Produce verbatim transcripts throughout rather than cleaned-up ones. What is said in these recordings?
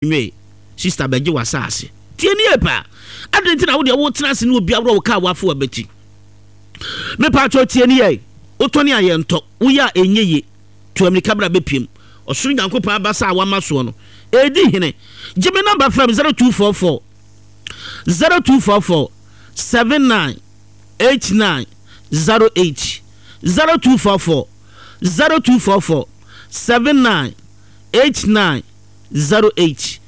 Nwe sister bɛgye w'asaase. Tie nie paa. Adɛn nti na wo deɛ wotena ase ne obi aworɔ wo kaa wafo w'abati? Mepatwɔ tie nie yɛ. Wotɔne a yɛntɔ. Woyɛ a ɛnyɛ ye. Tu amirika bra bɛpiem. Ɔsoro Nyankopɔn abasa a wama soɔ no, ɛredi hene. Gye me nɔmba frɛ me zero two four four zero two four four seven nine eight nine zero eight zero two four four zero two four four seven nine eight nine zero eight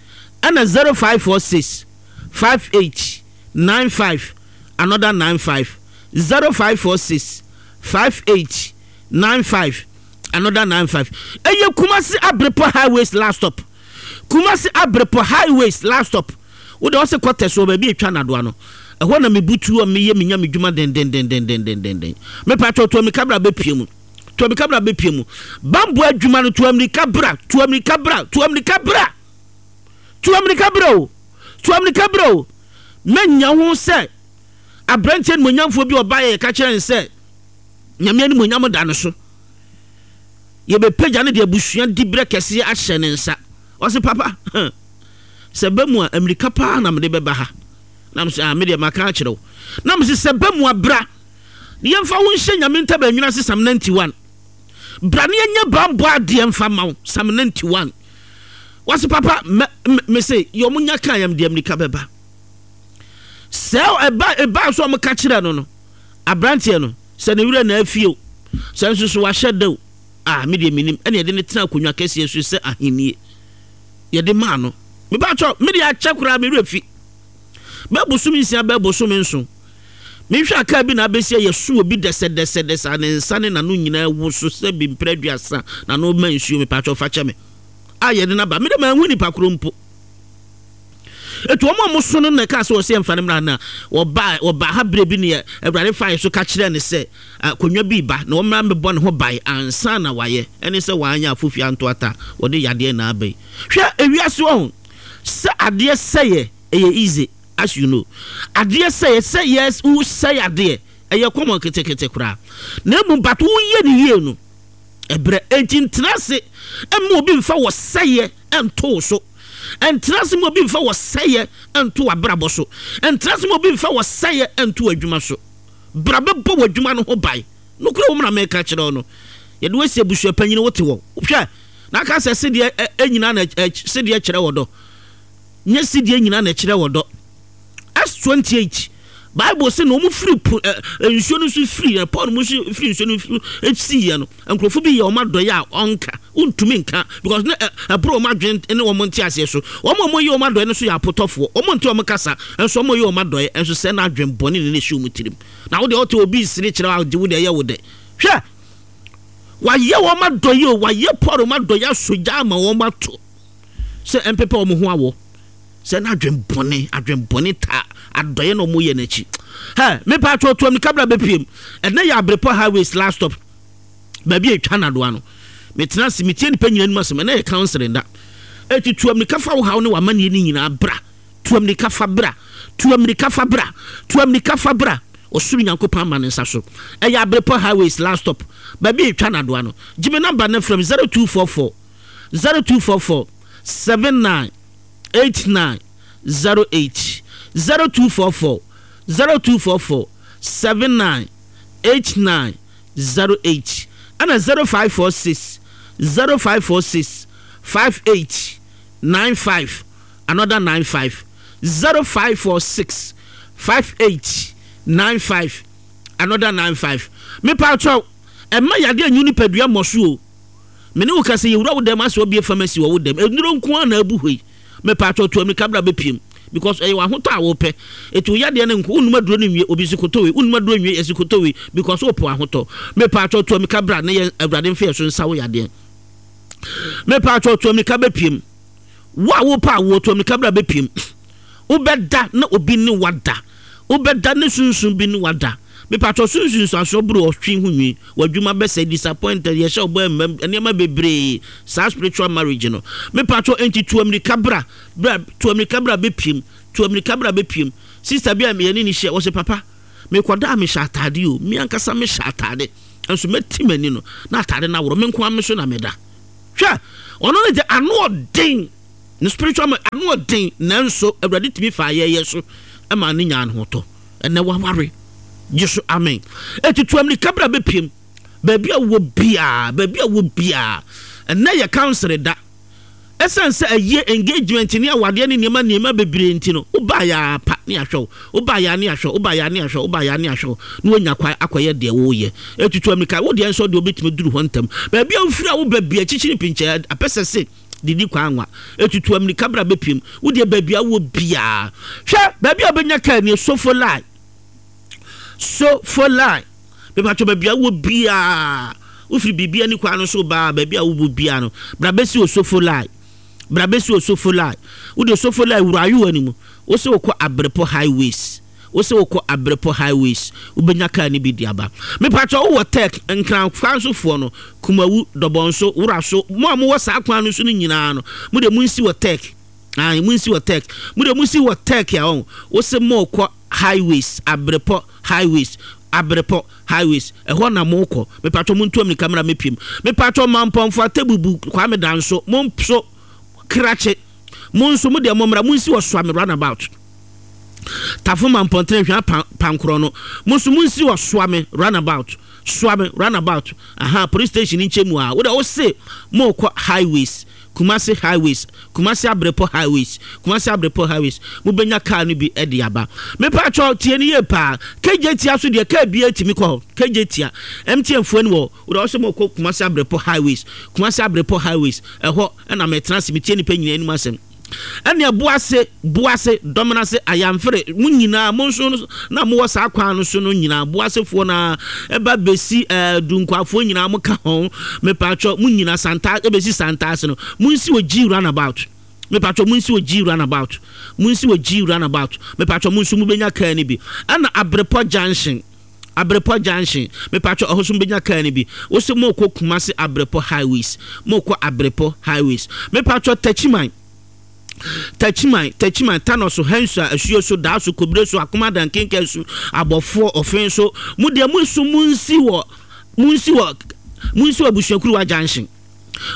ɛna zero five four six five eight nine five another nine five zero five four six five eight nine five another nine five. Ɛyɛ Kumasi Abrepɔ Highways last stop. Kumasi Abrepɔ Highways last stop. Wode ɔsɛ kɔtɛ so baabi atwa nadoa no. Ɛhɔ na mebutu a meyɛ menya me dwuma dendendendendendenden. Mepatwɔ to amika bra bɛpie mu. To amirika bra bɛpie mu. Bambɔ adwuma no, to amirika bra, to amirika bra, to amirika bra. To amirika bra o. To amirika bra o. Mɛnya ho sɛ aberanteɛ animuonyamfoɔ bi ɔbaeɛ yɛka kyerɛ no sɛ Nyame animuonyam da no so. Yɛbɛpagya no de abusua diberɛ kɛseɛ ahyɛ ne nsa. Ɔse papa, sɛ ba mu a amirika paa na mede bɛba ha. Na mese ah, medeɛ maka akyerɛ wo. Na mese sɛ ba mu a bra. Na yɛmfa wo nhyɛ Nyame ntaban ase Psalm ninety one. Bra na yɛnyɛ banbɔ adeɛ mfa ma wo Psalm ninety one. Wɔse papa mɛ me se yɛ ɔmo nya kaa yɛm deɛ mmirika bɛba. Sɛ ɛba ɛbaa so ɔmo ka kyerɛ no no abranteɛ no sɛ ne werɛ na afie o sɛ nso so wahyɛ da o ah me deɛ menim ɛna yɛde no tena akonnwa kɛseɛ so sɛ ahennie yɛde maa no. Mepakyɛw me deɛ akyɛ koraa me werɛ fi. Bɛɛ bosome nsia bɛɛ bosome nson. Mehwɛ a kaa bi na abɛsi a yɛso obi dɛsɛdɛsɛdɛsɛ a ne nsa ne n'ano nyinaa woso sɛ bi mprɛ aduasa n'ano ma nsuo mepakyɛw fa kyɛ me a yɛde no aba me de manhu nipa koro mpo etu wɔn a wɔso no na ɛkaa sɛ wɔsɛ yɛmfa no mmra na wɔba wɔba ha berɛ bi ne Awurade fa yɛ so ka kyerɛ ne sɛ akonnwa bi ba na wɔmmra mmɛbɔ ne ho ban ansa na wayɛ ɛne sɛ wanyɛ afofie anto ata wɔde yadeɛ na aba yi hwɛ ewiase wɔ ho sɛ adeɛ sɛyɛ ɛyɛ easy. As you know, adeɛ sɛeɛ sɛ yes wo sɛe adeɛ ɛyɛ common ketekete koraa na mmom but wo yɛ ne yie no ɛbrɛ enti ntena ase mma obi mfa wɔ sɛeɛ nto wo so ntena ase mma obi mfa wɔ sɛeɛ nto w'abrabɔ so ntena ase mma obi mfa wɔ sɛeɛ nto w'adwuma so bra bɛbɔ w'adwuma no ho ban nokorɛ wɔ mu na meka kyerɛ wo no yɛde wo asi abusua panyin wote wɔ hwɛ na aka sɛ sedeɛ nyinaa na sedeɛ kyerɛ wɔ dɔ Nyɛ sedie nyinaa na ɛkyerɛ ɔdɔ. Acts twenty eight, Bible se na wɔn firi po ɛ nsuo no so firi ɛ Paul mu nso firi nsuo no so siiɛ no, nkurɔfoɔ bi yɛ wɔn adɔeɛ a ɔnka, wontumi nka because ne ɛ ɛboro wɔn adwene ne wɔn nteaseɛ so. Wɔn a wɔyɛ wɔn adɔeɛ no nso yɛ apotɔfoɔ, wɔn nte wɔn kasa, nso wɔyɛ wɔn adɔeɛ nso sɛ na adwene bɔne na ɛhyɛ wɔn tirim. Na wo deɛ wote obi resere kyerɛ wo a, gye wo deɛ ɛyɛ wo dɛ. Hwɛ! Wɔayɛ wɔn adɔeɛ o, wɔayɛ Paul wɔn adɔeɛ asɔ gya ama wɔn ato. Sɛ ɛmpepa wɔn ho awɔ sɛ na adwen bɔne adwen bɔne taa adɔeɛ na wɔyɛ n'akyi. Hɛ mepa atwa otu amika bra bɛpiem ɛnɛ yɛ abrepɔ highways last stop baabi a ɛtwa nadoa no metena ase metie nipa nyina anim asɛm ɛnɛ yɛ counseling da ɛti tu amika fa wo haw ne w'amanneɛ ne nyinaa bra tu amika fa bra tu amika fa bra tu amika fa bra ɔsoro Nyankopɔn ama ne nsa so ɛyɛ abrepɔ highways last stop baabi a ɛtwa nadoa no gye me namba no frɛ me zero two four four zero two four four seven nine eight nine zero eight zero two four four zero two four four seven nine eight nine zero eight ɛna zero five four six zero five four six five eight nine five another nine five zero five four six five eight nine five another nine five mepa atwɛw ɛma yadeɛ nyu nipadua mmɔ so o. Me ne wo ka sɛ yɛwura wo dɛm asɛ wabue pharmacy wɔ wo dɛm nnuro nko ara na abu hɔ yi mepatwɔ tu amirika bra bɛpiem because ɛyɛ w'ahotɔ a wopɛ ɛti wo yadeɛ no nko wonum aduro no nwie obi si kotɔ wei wonum aduro nwie yɛsi kotɔ wei because wopɛ w'ahotɔ mepatwɔ tu amirika bra na yɛ awurade mfa yɛ so nsa wo yadeɛ mepatwɔ tu amirika bɛpiem wo a wopɛ awoɔ tu amirika bra bɛpiem wobɛda na obi ne wada wobɛda ne sunsum bi ne wada Mepatwɔ so nsunsuansoɔ boro ɔtwe ho nwi, w'adwuma bɛsɛe, disappointed, yɛhyɛ wo bɔ ɛmmam, nneɛma bebree, saa spiritual marriage no. Mepatwɔ enti tu amirika bra, bra, tu amirika bra bɛpiem, tu amirika bra bɛpiem. Sister bi a yɛne no hyia, ɔse papa, mekɔda a mehyɛ ataade o, me ankasa mehyɛ ataade, nso mɛti m'ani no, na ataade no aworɔ, me nko ara me so na meda. Hwɛ, ɔno ne deɛ ano ɔden. Ne spiritual man ano ɔden, nanso Awurade tumi fa ayɛyɛ so ɛma ne nya ahotɔ. Ɛnɛ waware. Gye so amen. Etutu amirika bra bɛpiem baabi a wɔ biaa, baabi a wɔ biaa. Ɛnɛ yɛ council da. Ɛsiane sɛ ɛyɛ engagement ne awadeɛ ne nneɛma nneɛma bebree nti no, wobaa yɛ apa ne ahwɛ wo, wobaa yɛ ne ahwɛ wo, wobaa yɛ ne ahwɛ wo, wobaa yɛ ne ahwɛ wo, na woanya kwan akɔyɛ deɛ woyɛ. Etutu amirika, wo deɛ nso deɛ wobɛtumi duru hɔ ntɛm. Baabi a wofiri a woba bia, akyikyiri pinkyɛ apɛ sɛ se didi kwan anwa. Etutu amirika bra bɛpiem. Wo deɛ, baabi a wɔ biaa, hwɛ baabi a wobɛnya kaa nie, Sofo Line, Sofo Line. Mepatwɛ, baabi a wɔ biaa, wofiri biribi ani kwan no so baa, baabi a wowɔ biaa no, bra bɛsi Osofo Line, bra bɛsi Osofo Line. Wode Osofo Line wura ayowa no mu, wo sɛ wokɔ Abrepɔ Highways, wo sɛ wokɔ Abrepɔ Highways, wobɛnya kaa no bi de aba. Mepatwɛ, wowɔ Tech Nkran kwan so foɔ no, Kumawu, Dɔbɔnso, Wura so, mo a mowɔ saa kwan no so no nyinaa no, mo de monsi wɔ Tech. Ayi, monsi wɔ Tech. Mo de monsi wɔ Tech a ɔn wo sɛ mokɔ Highways, Abrepɔ Highways, Abrepɔ Highways, ɛhɔ na mokɔ. Mepatwɛ, montu amirika mmra mɛpiem. Mepatwɛ, Mampɔnfo, Atebubu, Kwame Danso, mo nso Krakye, mo nso mo deɛ mommra monsi wɔ Soame Runabout. Tafo, Mampɔntene, Hwea, Pankorɔ no, mo nso monsi wɔ Soame Runabout, Soame Runabout. Aha, police station nkyɛn mu a, wode wo se mokɔ Highways, Kumasi Highways, Kumasi Abrepɔ Highways, Kumasi Abrepɔ Highways, mobɛnya kaa no bi de aba. Mepatwɔ, tie no yie paa. Kegye Tia so deɛ, kaa biara tumi kɔ hɔ. Kegye Tia M T N foɔ ni wɔ. Wode wo sɛ mokɔ Kumasi Abrepɔ Highways, Kumasi Abrepɔ Highways, ɛhɔ ɛna mɛtena ase metie nipa nyinaa anim asɛm. Ɛnea Boase, Boase, Dɔmenase, Ayamfere, mo nyinaa, mo nso na mowɔ saa kwan no so no nyinaa, Boasefoɔ na ɛba bɛsi ɛɛ Dunkwafoɔ nyinaa, mo ka ho. Mepatwɔ, mo nyinaa Santa ɛbɛsi Santa ase no, mo nsi wɔ G Runabout. Mepatwɔ, mo nsi wɔ G Runabout, mo nsi wɔ G Runabout. Mepatwɔ, mo nso mo bɛnya kaa no bi. Ɛna Abrepɔ Junction, Abrepɔ Junction, mepatwɔ, ɛhɔ so mbɛnya kaa no bi. Wosi mo kɔ Kumasi Abrepɔ Highways, mo kɔ Abrepɔ Highways. Mepatwɔ, Tachiman, Tachiman, Tachiman, Tanoso, Hensa, Asuo so, Daa so, Kobire so, Akomadan, Kenka so, Abɔfoɔ, Ɔfen so, mo deɛ mo nso mo nsi wɔ mo nsi wɔ mo nsi wɔ Abusuakuruwa Junction,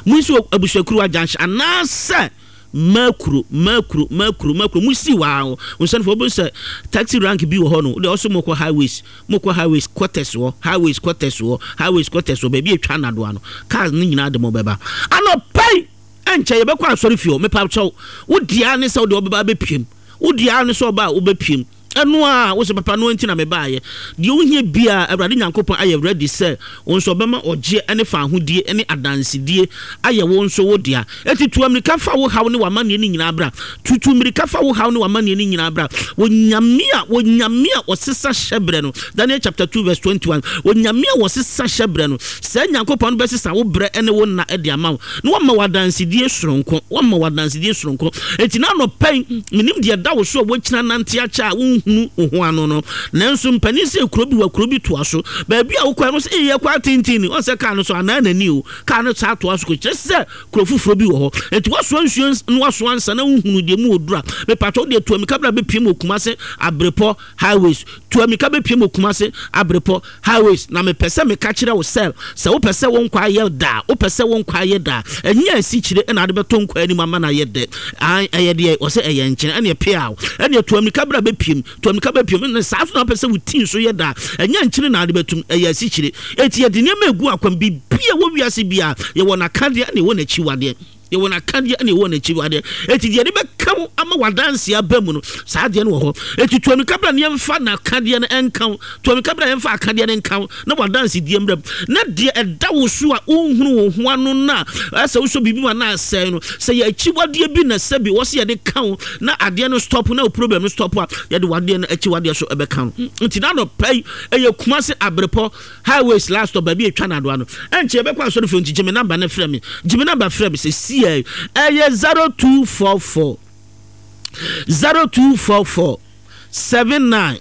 mo nsi wɔ Abusuakuruwa Junction anaasɛ Makuro, Makuro, Makuro, Makuro. Mo si waa o nsanfo obi sɛ taxi rank bi wɔ hɔ no, de ɔso mo kɔ Highways, mo kɔ Highways quarters wɔ, Highways quarters wɔ, Highways quarters wɔ, baabi etwa nadoa no, cars ne nyinaa de mo bɛba. Anɔpɛi ɛnkyɛ yɛbɛkɔ asɔre fie hɔ. Mepa kyɛw, wo dea ne sɛ wode ɔbɛba abɛpiem, wo dea ne sɛ ɔba a wobɛpiem. Ɛno a wo sɛ papa no nti na mebaayɛ deɛ wohia biaa, Awurade Nyankopɔn ayɛ ready sɛ wo nso ɔbɛma ɔgyeɛ ne fa ahodie ne adansedie ayɛ wo nso wo dea. Ɛti tu amirika fa wo haw ne w'amanneɛ no nyinaa bra. Tutu mmirika fa wo haw ne w'amanneɛ no nyinaa bra. Onyame a, Onyame a ɔsesa hyɛberɛ no, Daniel chapter two verse twenty-one, Onyame a wɔsesa hyɛberɛ no, saa Nyankopɔn no bɛsesa wo berɛ ne wo nna de ama wo na wama wo adansedie soronko, wama wo adansedie soronko. Enti na anɔpɛn menim deɛ da wo so a woakyina nante akyɛ a wonhunu wo ho ano no, nanso mpanin sɛ kuro bi wɔ kuro bi toa so, baabi a wokɔ no sɛ ɛyɛ kɔ atenten ɔn sɛ kaa no so anaa n'ani o, kaa no saa toa so kɔ kyerɛ sɛ kuro foforɔ bi wɔ hɔ. Enti wasoa nsuo na wasoa nsa na wohunu deɛ mu wɔ dura. Mepatwɛ, wodeɛ tu amika bra bɛpiem wɔ Kumase Abrepɔ Highways. Tu amika bɛpiem wɔ Kumase Abrepɔ Highways. Na mepɛ sɛ meka kyerɛ wo sɛ sɛ wopɛ sɛ wo nkwa ayɛ daa, wopɛ sɛ wo nkwa ayɛ daa, ɛnyɛ asikyire ɛna ade bɛtɔ nkwa anim ama no ayɛ dɛ. Ɛyɛ deɛ wɔ sɛ ɛyɛ nkyene ɛne ɛpea wo, ɛne tu amika bra bɛpiem, tu amika bɛpiem. Ɛne saa so na wopɛ sɛ wo tii so yɛ daa, ɛnyɛ nkyene na ade bɛtum, ɛyɛ asikyire. Eti yɛde nneɛma egu akwan biribi a ɛwɔ wiase bia, yɛwɔ n'akadeɛ ɛne ɛwɔ n'akyiwadeɛ, yɛwɔ n'akadeɛ ɛne ɛwɔ n'akyiwadeɛ. Eti deɛ de bɛka wo ama wadanse aba mu no, saa adeɛ no wɔ hɔ. Eti tu amika bra ne yɛmfa n'akadeɛ no ɛnka wo. Tu amika bra, yɛmfa akadeɛ no nka wo na wadanse die mmerɛ mu, na deɛ ɛda wo so a wonhunu wo ho ano na ɛsɛ wosɔ biribi mu anaa asɛe no, sɛ yɛ akyiwadeɛ bi na sɛbi wɔ sɛ yɛde ka wo na adeɛ no stop na wo problem no stop a, yɛde wadeɛ no akyiwadeɛ so ɛbɛka wo. Nti na anɔpa yi ɛyɛ Kumase Abrepɔ Highways last stop, baabi etwa nadoa no. Ɛnkyɛ yɛbɛkɔ asɔre fie. Nti gye me number ne frɛ me, gye me number frɛ me sɛ sie. Ɛyɛ zero two four four, zero two four four seven nine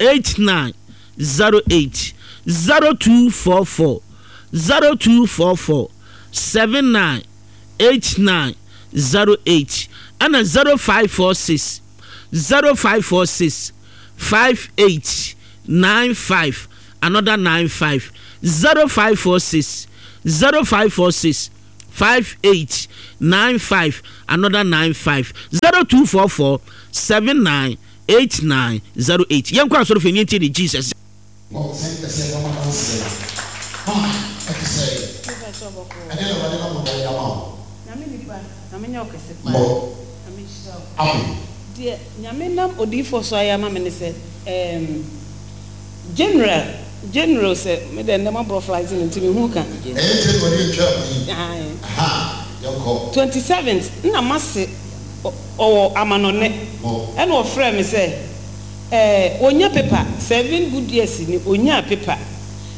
eight nine zero eight, zero two four four, zero two four four seven nine eight nine zero eight, ɛna zero five four six, zero five four six five eight nine five another nine five, zero five four six, zero five four six. five eight nine five another nine five zero two four four seven nine eight nine zero eight. Yɛn kɔ asɔrɔ fɛ ní ti di Jesus. Deɛ Nyame nam odiyifoɔ so ayɛ ama me ne sɛ ɛɛm General General sɛ me deɛ ndɛ maborɔ flight no nti me hu ka. Ɛyɛ January a etwaa mu yi. Ae. Ahaa, yɛnkɔ. Twenty seventh nna mase ɔwɔ amanɔne Mo. ɛna ɔfrɛɛ me sɛ ɛɛ ɔnya paper seven good years ni ɔnyaa paper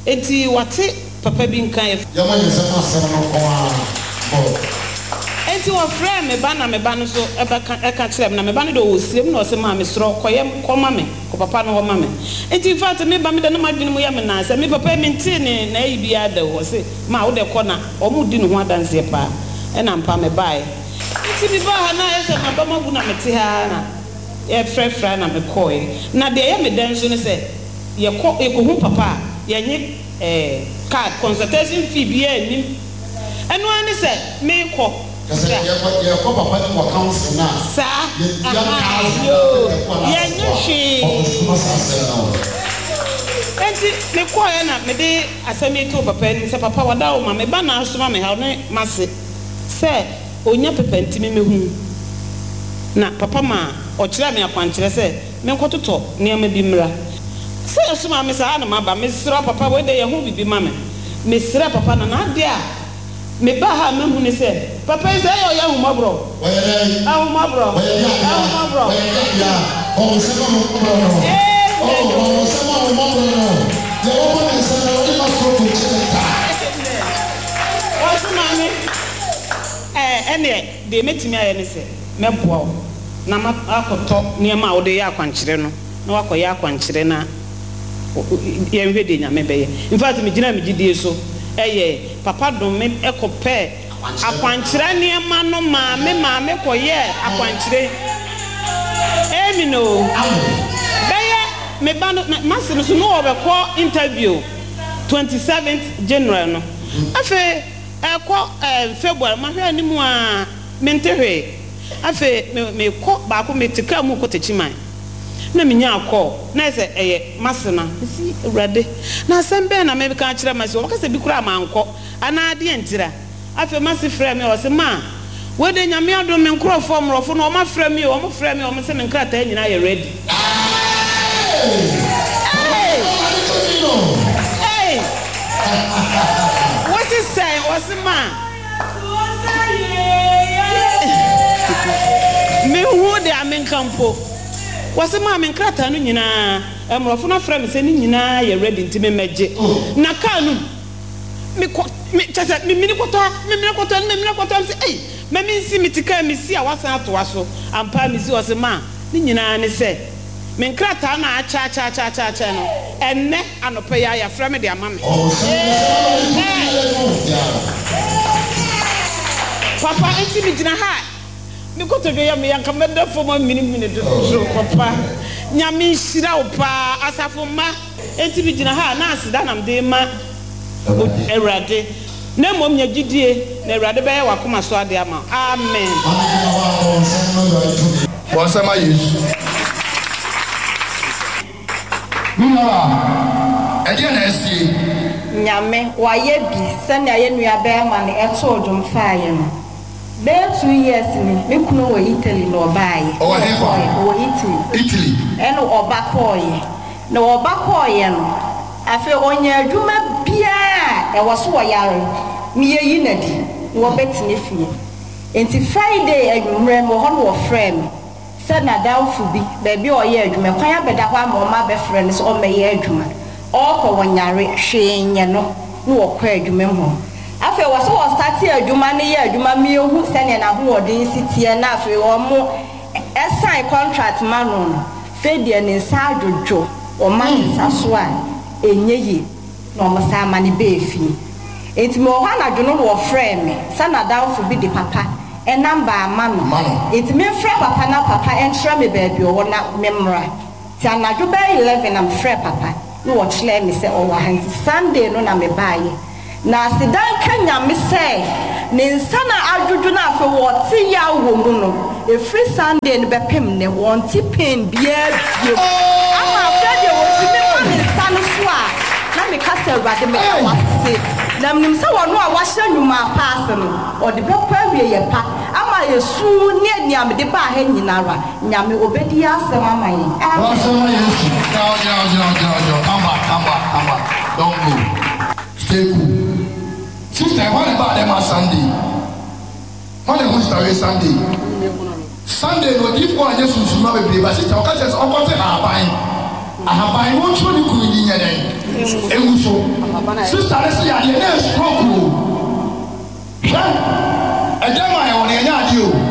nti wate papa bi nka yɛ. Yɛmmɔ yɛn nsam asɛm no nko ara bɔ. Enti wɔfrɛɛ me ba na me ba no nso bɛka ka kyerɛɛ me na me ba no deɛ ɔwɔ sirem na ɔse maa mesrɛ wo kɔyɛ kɔ ma me kɔ papa no hɔ ma me enti infact me ba me deɛ na m'adwene mu yɛ me naa sɛ me papa yi mentee ne n'ayi biara da o ɔse maa wo deɛ kɔ na wɔn redi ne ho adanseɛ paa ɛna ampa me baeɛ enti me baa ha na ayɛ sɛ m'abam abu na mete ha ara na yɛfrɛfrɛ a na me kɔeɛ na deɛ ɛyɛ me dɛ nso ne sɛ yɛkɔ yɛkɔhu papa a yɛnye ɛɛ card consultation fee biara nnim. Ɛno ara ne sɛ merekɔ Kyerɛ sɛ bra. yɛkɔ yɛkɔ papa no mu wɔ council no a, Saa, yɛntua ahaa, thousand yoo, anaa ɛkɔ anaa yɛnyɛ asafo a, ɔkɔsoma hwee. saa asɛm no wɔ. Enti mekɔeɛ na mede asɛm yi too papa anim sɛ, Papa, wada wo ma, me ba na asoma me ha, ɔne m'ase sɛ ɔnya paper nti memmɛhu. Na papa maa ɔkyerɛɛ me akwankyerɛ sɛ menkɔtotɔ nneɛma bi mmra. Sɛ ɛsomaa me saa na maba. Mesrɛ wo papa, wei deɛ yɛ ho biribi ma me. Mesrɛɛ papa na n'adeɛ a mebaa ha a mahu ne sɛ, papa yi sɛ ɛyɛ ɔyɛ ahummɔborɔ. Wɔyɛ dɛn? Ahummɔborɔ. Wɔyɛ deɛ adeɛ? Ahummɔborɔ. Wɔyɛ deɛ adeɛ? Bɔ wo nsam ahummɔborɔ no. Oh, Amen bɔ wo o. nsam ahummɔborɔ no. Deɛ wɔbɔ ne nsam no, Awurade mma soro nkyɛ ne da. Amen. Ɔse maame, ɛɛ ɛneɛ deɛ mɛtumi ayɛ ne sɛ mɛboa wo na makɔtɔ nneɛma a wode yɛ akwankyerɛ no na woakɔyɛ akwankyerɛ na yɛnhwɛ deɛ Nyame bɛyɛ. Infact megyinaa me gyidie so yɛɛ. Papa dom me kɔpɛɛ akwankyerɛ nneɛma no maa me maa me kɔyɛɛ akwankyerɛ. Amen oo. Bɛyɛ me ba no m'ase no so na ɔbɛkɔ interview twenty seventh January no. Afei ɛkɔ ɛɛ February mahwɛ anim aa mente hwee. Afei me mekɔ baako mete car mu rekɔ Techiman na menyaa call na ayɛ sɛ ɛyɛ m'asena. Mese Awurade na asɛm bɛn na meka akyerɛ m'ase wɔbɛka sɛ bi koraa mankɔ anaa deɛn ntira. Afei m'ase frɛɛ me ɔse ma wei deɛ Nyame adom me nkorɔfoɔ mmorɔfo no wɔn afrɛ me o wɔn frɛɛ me wɔn se me nkrataa nyinaa yɛ ready. Eei! Eei! Wose sɛn? Ɔse ma. Menhu deɛ menka mpo. Wɔse maa me nkrataa no nyinaa, mmorɔfo no afrɛ me sɛ ne nyinaa yɛ ready nti memmɛgye. Na car no mu, mekɔ, me, kyerɛ sɛ memini kɔtɔ ha, memini kɔtɔ ha, memini kɔtɔ ha, mese ei, ma mensi, mete car mu mesi a wasan atoa so. Ampa ara mesi, ɔse maa ne nyinaa ne sɛ me nkrataa no a akyɛ akyɛ akyɛ akyɛ akyɛ no, ɛnnɛ anɔpa yi ara yɛafrɛ me de ama me. Amen! Papa, enti megyina ha a, me kotodwe yɛ me ya, nka mɛda fam aminimini dodo. Papa, Nyame nhyira wo paa, asafo mma. Enti megyina ha a, na aseda na mede rema Awurade. Na mmom nya gyidie, na Awurade bɛyɛ w'akoma so adeɛ ama wo. Amen. Bɔ nsam ma Yesu. Me nuabaa, ɛdeɛn na asie? Nyame wayɛ bi sɛnea yɛn nua bɛɛma no too dwom faeɛ no. Bɛyɛ two years ni, me kunu wɔ Italy na ɔbaeɛ. Ɔwɔ hefa? Ɔwɔ Italy. Italy. Ɛna ɔba kɔeɛ. Na ɔba kɔeɛ no, afei ɔnya adwuma biara a ɛwɔ so ɔyare no yɛyi no adi na wɔbɛtena fie. Nti Friday anwummerɛ mewɔ hɔ na wɔfrɛɛ me. Sɛ n'adamfo bi, baabi a ɔyɛ adwuma, kwan abɛda hɔ ama wɔabɛfrɛ no sɛ ɔmmɛyɛ adwuma. Ɔɔkɔ, wɔnyare, hwee nyɛ no, na ɔkɔ adwuma mu hɔ. Afei wɔ sɛ ɔstate adwuma no yɛ adwuma ma yɛhu sɛdeɛ n'ahoɔden si teɛ na afei wɔn sign contract ma no no, afei deɛ ne nsa adwodwo, wɔma ne nsa so a, ɛnyɛ yie. Na wɔsan ma no baa fie. Enti mewɔ hɔ anadwo no na wɔfrɛɛ me sɛ n'adamfo bi de papa namba ama no. Enti memfrɛ papa na papa nkyerɛ me baabi ɔwɔ na memmra. Nti anadwo bɛyɛ eleven na mefrɛɛ papa na ɔkyerɛɛ me sɛ ɔwɔ ha. Nti Sunday no na mebaeɛ. Na aseda nka Nyame sɛ ne nsa no adwodwo no afei wɔte yaw wɔ mu no, ɛfiri Sunday no bɛpem nnɛ, wɔnte pain biara bio. Ama afei deɛ wɔtumi ma ne nsa no so a, na meka sɛ, Awurade, meda wo ase. Na menim sɛ ɔno a wahyɛ nnwuma pa ase no, ɔde bɛkɔ awieɛ pa ama esu ne nea mede baa ha nyinara. Nyame, ɔbɛdi yɛn asɛm ama yɛn. Amen. Wɔasɛm ma Yesu. Gyina hɔ, gyina hɔ, gyina hɔ, gyina hɔ, gyina hɔ. Come back, come back, come back. Don't go. Stay cool. Sister, hwan na ɛbaa dɛm ha Sunday? Hwan na ehu sister wei Sunday? Sunday no odiyifoɔ anyɛ sunsumma bebree ba sister ɔka kyerɛ sɛ ɔnkɔte ahaban ahaban na ɔntwerɛ ne kunu din nyɛ dɛn ngu so. Sister no se yadeɛ na ɛyɛ stroke o. Hwɛ ɛdɛm a yɛwɔ no yɛnyɛ adeɛ o.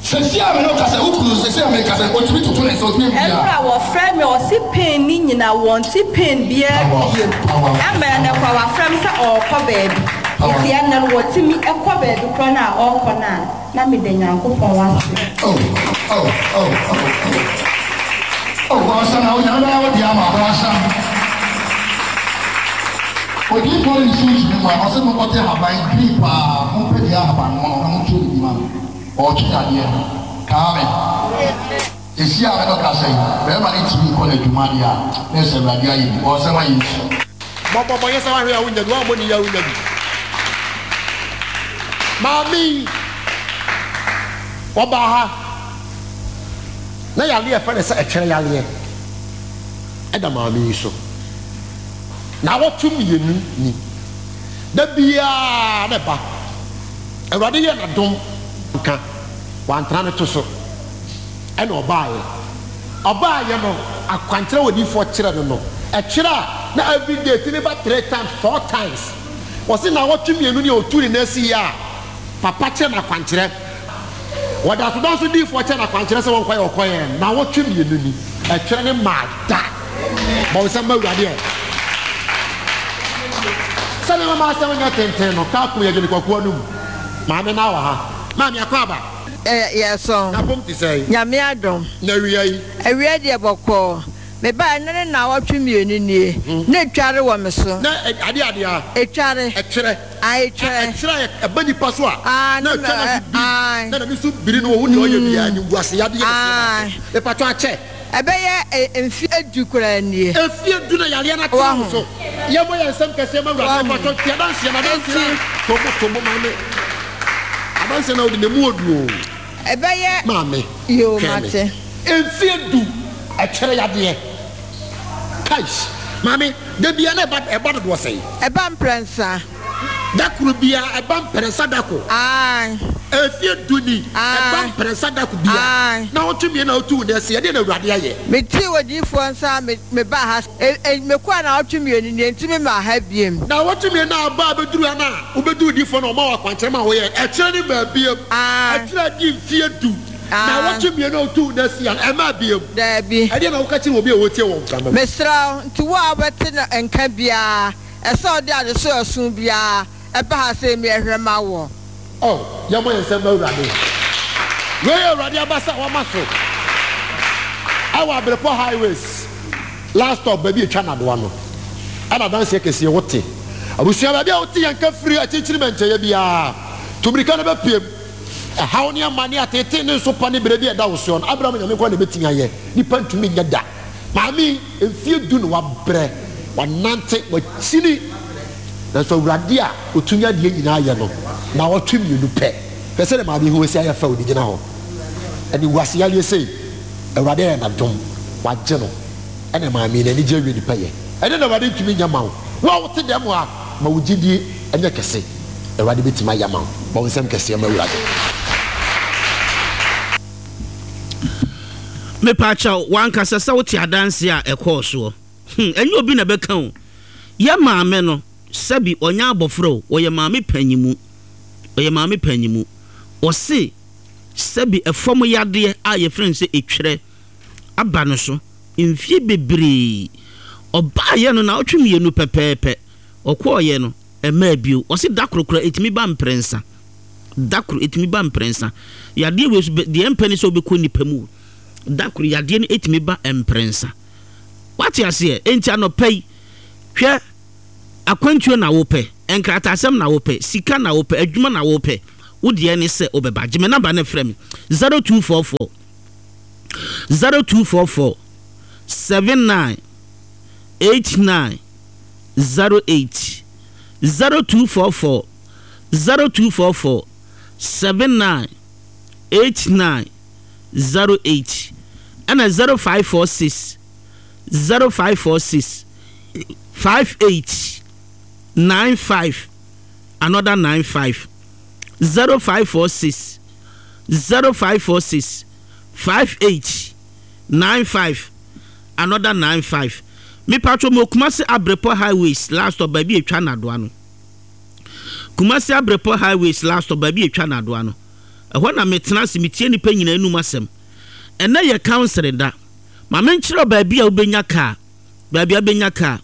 Sɛsi a me ne wo kasa wo kunu sɛsi a me kasa otumi toto ne nsa otumi yɛ biribiara. Ɛberɛ a wɔfrɛ me ɔse pain ne nyina wɔnte pain biara biom ɛma ɛnɛ koraa wafrɛ me sɛ ɔɔkɔ baabi nti ɛnɛ no wɔtumi kɔ baabi koraa no a ɔɔkɔ no a na meda Nyankopɔn ase. Oh oh oh oh oh oh bɔnsam na Onyame bɛyɛ wo deɛ ama wo bɔnsam. Odiyifoɔ no ne sunsum mu a ɔse monkɔte ahaban green paa mompɛ dua ahaban mono na montwerɛ ne din ma me. Ɔretwe dadeɛ. Kaa me. Seesei a me ne wo kasa yi, barima no ntumi nkɔ n'adwuma deɛ a, na ɛsɛ Awurade ayɛ bi. Bɔ nsɛm ma Yesu. Bɔ bɔ bɔ nyɛ sɛ wahwɛ a wonya bi, woammɔ ne yie a wonya bi. Maame yi, ɔbaa ha na yareɛ a yɛfrɛ no sɛ ɛtwerɛ yareɛ ɛda maame yi so. Naawɔtwe mmienu ni, da biara na ɛba. Awurade yɛɛ no adom nka wantena ne to so ɛna ɔbaeɛ. Ɔbaeɛ no akwankyerɛ a odiyifoɔ kyerɛ no no ɛkyerɛ a na everyday ɛtumi ba three times four times. Ɔse naawɔtwe mmienu ni a ɔtuu ne nan sii a papa kyerɛ no akwankyerɛ. Wɔda so da nso diyifoɔ kyerɛ no akwankyerɛ sɛ wɔnkɔyɛ ɔkɔyɛɛ naawɔtwe mmienu ni ɛtwerɛ no maa da. Bɔ wo nsam ma Awurade ɛ. Sɛdeɛ mɛma asɛm nyɛ tenten no, kaa kum yɛ dwene kwaku anum. Maame naa wɔ ha. Maame akɔ aba. Ɛ yɛsɔn. N'apom te sɛn? Nyame adom. Na awia yi? Awia deɛ bɔkɔɔ. Mebaeɛ nnɛ ne naawɔtwe mmienu nie. Na ɛtware wɔ me so. Na ɛ adeɛ adeɛ a? Ɛtware. Ɛtwerɛ. Ae ɛtwerɛ. Ɛtwerɛ a ɛba nipa so a. Ae Na na ɛtwa n'ase mɛ biri. ae. Na n'ani so biri no ɔhu deɛ ɔyɛ biara animguase yadeɛ kɛseɛ na Ae. aso. Mepatwɔ akyɛ. Ɛbɛyɛ mfeɛ du koraa nie. Mfeɛ du na yareɛ no atena wo Wahu. so. Yɛmmɔ yɛn nsam kɛseɛ ma Awurade. Wahu. Mepakyɛw tie adanseɛ no, adanseɛ Enti. no. To bo, to bo maame. Adanseɛ no a wodi no, ɛmu ɔdu o. Ɛbɛyɛ. Maame, Yoo, twɛn me. mate. Mfeɛ du, ɛkyerɛ yadeɛ. Kaish. Maame, da biara na ɛba, ɛba dodoɔ sɛn? Ɛba mprɛnsa. Da koro biara, ɛba mprɛnsa da koro. Aane. Mfeɛ du ni, ɛba Aane. mprɛnsa da koro biara. Aane. Naawɔtwe mmienu a wotu wo nan asi, ɛdeɛn na Awurade ayɛ? Metee odiyifoɔ nsa a me, mebaa ha, e, e, mekɔɔ naawɔtwe mmienu nie, nti memmaa ha biom. Naawɔtwe mmienu a aba abɛduru ha no a, wobɛduru odiyifoɔ no a ɔma wo akwankyerɛ ma woyɛɛ, ɛkyerɛ no mmaa biom. Aane. Ɛkyerɛ adi mfeɛ du. Aane. Naawɔtwe mmienu a wotu wo nan asi ha no, ɛmmaa biom. Daabi. Ɛdeɛn na woka kyerɛ obi a ɔretie wɔ mframa mu? Mesrɛ wo, nti wo a wobɛte no nka biara, Ɛsɛ ɔde adesoa ɛso biara ɛba ha sɛ emi ɛhwɛ ma woɔ. Oh, yɛmmɔ yɛn nsam ma Awurade. Wei yɛ Awurade abasa a wama so ɛwɔ Abrepɔ Highways last stop baabi a ɛtwa nnadewa no. Ɛna adanseɛ kɛseɛ wote. Abusua baabi a wote yɛn nka firi akyirikyiri mɛnkyɛeɛ biara. Tu mmirika na bɛpiem. Ɛhaw ne amane, ateetee ne nsopa ne berɛ bi a ɛda wo soɔ no, Abraham Nyame nko ara na ɛbɛtumi ayɛ. Nipa ntumi nyɛ da. Maame yi, mfeɛ du na wabrɛ, wanante, wakyini, nanso Awurade a ɔtumi adeɛ nyinaa yɛ no, nnawɔtwe mmienu pɛ. Hwɛ sɛdeɛ maame yi ho asi ayɛ fɛ, ɔde gyina hɔ. Animguase yareɛ sei, Awurade ayɛ no adom, wagye no. Ɛna maame yi, n'ani gye awie ne pɛyɛ. Ɛdeɛn na Awurade ntumi nyɛ mma wo? Wo a wote dɛm ha, ma wo gyidie nyɛ kɛse. Awurade bɛtumi ayɛ ama wo. Bɔ wo nsam kɛseɛ ma Awurade. Mepaakyɛw, w'ankasa sɛ wote adanse a ɛkɔɔ soɔ? Hmm, ɛnyɛ obi na ɛbɛka o. Yɛ maame no, sɛbi ɔnyɛ abɔfra o, ɔyɛ maame panyimu. Ɔyɛ maame panyimu. Ɔse, sɛbi ɛfam yadeɛ a yɛfrɛ no sɛ etwerɛ aba no so mfie bebree. Ɔbaeɛ no naawɔtwe mmienu pɛpɛɛpɛ, ɔkɔeɛ no, ɛmmaa bio. Ɔse da koro koraa ɛtumi ba mprɛnsa. Da koro, ɛtumi ba mprɛnsa. Yadeɛ wei nso, deɛ ɛmpɛ ne sɛ wobɛkɔ nnipa mu. Da koro, yadeɛ no ɛtumi ba mprɛnsa. Wate aseɛ? Enti anɔpa yi, hwɛ, akwantuo na wopɛ. Nkrataasɛm na wopɛ, sika na wopɛ, adwuma na wopɛ, wo deɛ ne sɛ wobɛba. Gye me number no frɛ me, zero two four four, zero two four four, seven nine, eight nine, zero eight, zero two four four, zero two four four, seven nine, eight nine, zero eight, ɛna zero five four six, zero five four six, five eight, nine five, another nine five, zero five four six, zero five four six, five eight, nine five, another nine five. Me patro mo Kumasi Abrepɔ Highways last stop baabi etwa nadoa no. Kumasi Abrepɔ Highways last stop baabi etwa nadoa no. Ɛhɔ na metena ase metie nipa nyinaa enum asɛm. Ɛnɛ yɛ counseling da. Ma menkyerɛ baabi a wobɛnya kaa. Baabi a wobɛnya kaa.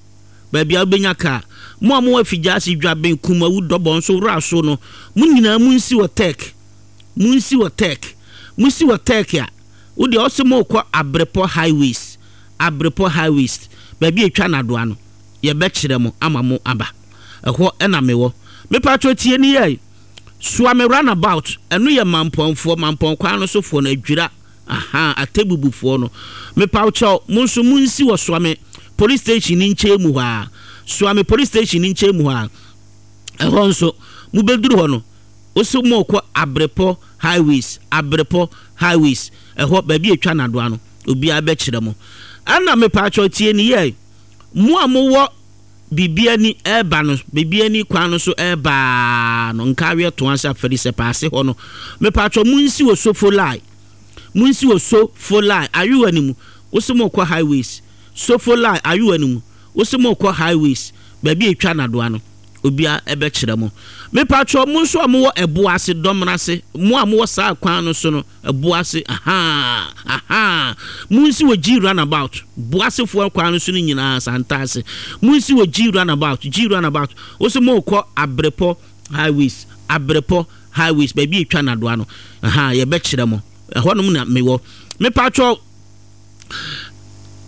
Baabi a wobɛnya kaa. Mo a mowɔ Afigya Dwaben Kumawu Dɔbɔ nso wura so no, mo nyinaa munsi wɔ Tech. Munsi wɔ Tech. Munsi wɔ Tech a, wo deɛ ɔse mokɔ Abrepɔ Highways. Abrepɔ Highways. Baabi etwa nadoa no, yɛbɛkyerɛ mo ama mo aba. Ɛhɔ ɛna mewɔ. Mepatro tie ni yɛ. Suame roundabout, ɛno yɛ mampɔnfoɔ, mampɔn kwan no sofoɔ no adwira. Aha, atebubufoɔ no. Mepawkyɛw, mo nso munsi wɔ Suame police station ni nkyɛn mu hɔ a. Suame police station ni nkyɛn mu hɔ a. Ɛhɔ nso, mobɛduru hɔ no, wosi mokɔ Abrepɔ Highways, Abrepɔ Highways. Ɛhɔ baabi etwa nadoa no, obiara bɛkyerɛ mo. Ɛna mepatwɔ tie ni yɛ. Mo a mowɔ Bibiani ɛɛba no, Bibiani kwan no so ɛɛbaa no, nkareɛ to ase afɛri sɛ paase hɔ no. Mepatwɔ munsi wɔ Sofolai. Munsi wɔ Sofolai, ayewa ni mu. Wosi mokɔ Highways. Sofolai, ayewa ni mu. Wosi mokɔ Highways. Baabi etwa nadoa no, obiara ɛbɛkyerɛ mo. Mepatwɔ mo nso a mowɔ ɛbo ase, dɔmena ase, mo a mowɔ saa kwan no so no, ɛbo ase, aha, aha. Munsi wɔ G roundabout, boasefoɔ kwan no so no nyinaa santa ase. Munsi wɔ G roundabout, G roundabout. Wosi mokɔ Abrepɔ Highways, Abrepɔ Highways, baabi etwa nadoa no, aha, yɛbɛkyerɛ mo. Ɛhɔnom na mewɔ. Mepatwɔ